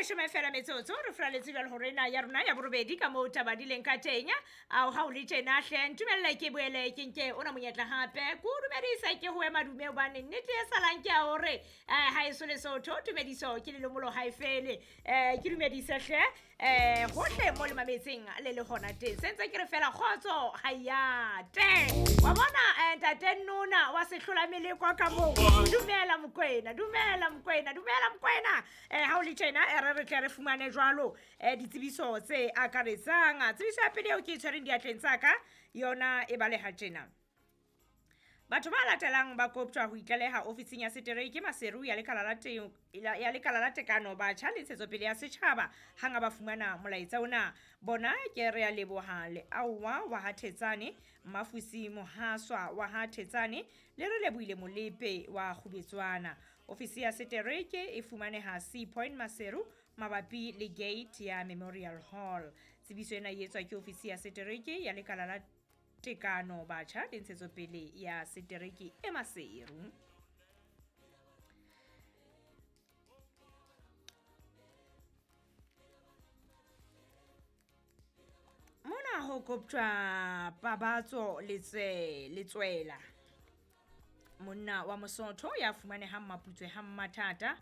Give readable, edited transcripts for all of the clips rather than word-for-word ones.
Leshome fela metsotso re furaletse jwale hore ena ya rona ya borobedi ka moo taba di leng ka teng. Ao ha o le tjena hle, ntumelle ke boele ke nke ona monyetla hape ke o dumedisa, ke ho madume, hobane nnete e salang ke ya hore ha eso Lesotho tumediso ke lelomolo ha e fele. Ke dumedise hle hohle mo le mametseng le le hona teng, sentse ke re fela kgotso ha yate wa bona. Ntate Nona wa sehlola meleko ka moo, dumela Mokwena, dumela Mokwena, dumela Mokwena. Ha o le tjena, re tle re fumane jwalo ditsebiso tse akaretsang. Tsebiso ya pele eo ke e tshwereng diatleng tsa ka yona e baleha tjena: batho ba latelang ba koptjwa ho itlaleha ofising ya setereke Maseru ya lekala la ya lekala la tekano, batjha le ntshetsopele ya setjhaba hanga ba fumana molaetsa ona. Bona ke Re a Leboha Leaowa wa ha Thetsane, Mmafusi Mohaswa wa ha Thetsane le Re Lebohile Molepe wa Kgubetswana. Ofisi ya setereke e fumaneha Sea Point Maseru, mabapi le gate ya Memorial Hall. Tsebiso ena e etswa ke ofisi ya setereke ya lekala la tekano, batjha le ntshetsopele ya setereke e Maseru. Mona ho koptjwa Pabatso Letswela, monna wa Mosotho ya fumanehang Maputswe ha Mmathata,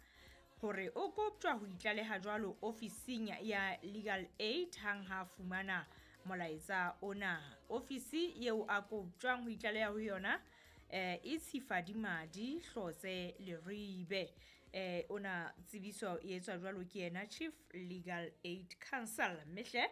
hore o koptjwa ho itlaleha jwalo ofising ya Legal Aid hang ha fumana molaetsa ona. Ofisi eo a koptjwang ho itlaleha ho yona e Tshifadimadi Hlotse Leribe. Ona tsebiso e etswa jwalo ke yena Chief Legal Aid Council. Mme hle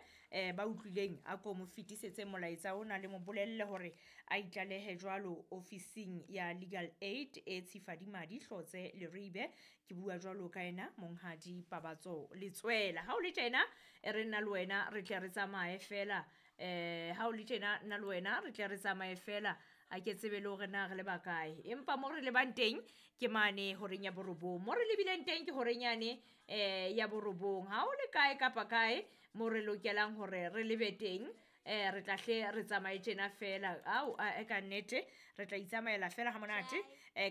ba utlwileng a ko mo fetisetse molaetsa ona, le mo bolelle hore a itlalehe jwalo ofising ya Legal Aid e Tshifadimadi Hlotse Leribe. Ke bua jwalo ka yena monghadi Pabatso Letswela. Ha o le tjena, e re nna le wena re tle re tsamaye fela. Ha o le tjena, nna le wena re tle re tsamaye fela, a ke tsebe le hore na re le bakae, empa mo re lebang teng ke mane horeng ya borobong, mo re lebileng teng ke horeng yane ya borobong. Ha o le kae kapa kae mo re lokelang hore re lebe teng, re tla hle re tsamaye tjena fela. Ao a ka nnete re tla itsamaela fela ha monate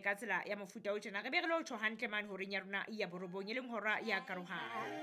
ka tsela ya mofuta o tjena, re be re lo tjho hantle mane horeng ya rona ya borobong, e leng hora ya karohano.